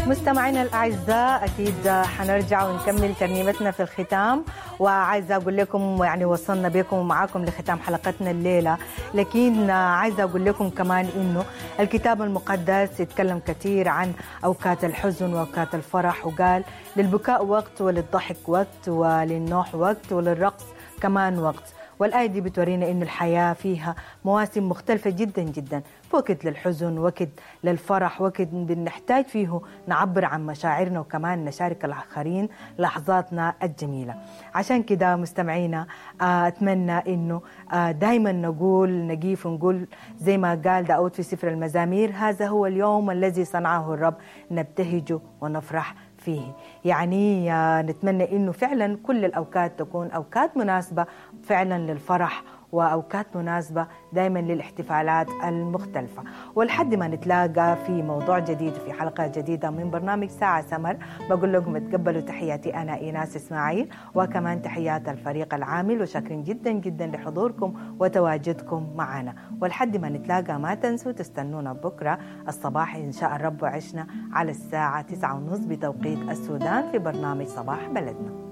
مستمعينا الأعزاء، أكيد حنرجع ونكمل ترنيمتنا في الختام، وعايزة أقول لكم يعني وصلنا بكم ومعاكم لختام حلقتنا الليلة، لكن عايزة أقول لكم كمان إنه الكتاب المقدس يتكلم كثير عن أوقات الحزن وأوقات الفرح، وقال للبكاء وقت وللضحك وقت وللنوح وقت وللرقص كمان وقت. والآية دي بتورينا إنه الحياة فيها مواسم مختلفة جدا جدا، وقت للحزن، وقت للفرح، وقت بنحتاج فيه نعبر عن مشاعرنا وكمان نشارك الآخرين لحظاتنا الجميلة. عشان كده مستمعينا، أتمنى إنه دايما نقول، نقيف ونقول زي ما قال داود في سفر المزامير: هذا هو اليوم الذي صنعه الرب، نبتهج ونفرح فيه. يعني نتمنى إنه فعلا كل الأوقات تكون أوقات مناسبة فعلا للفرح، وأوقات مناسبة دايما للاحتفالات المختلفة. ولحد ما نتلاقى في موضوع جديد في حلقة جديدة من برنامج ساعة سمر، بقول لكم تقبلوا تحياتي أنا إيناس إسماعيل، وكمان تحيات الفريق العامل، وشاكرين جدا جدا لحضوركم وتواجدكم معنا. ولحد ما نتلاقى ما تنسوا تستنونا بكرة الصباح إن شاء الرب وعشنا على الساعة 9:30 بتوقيت السودان في برنامج صباح بلدنا.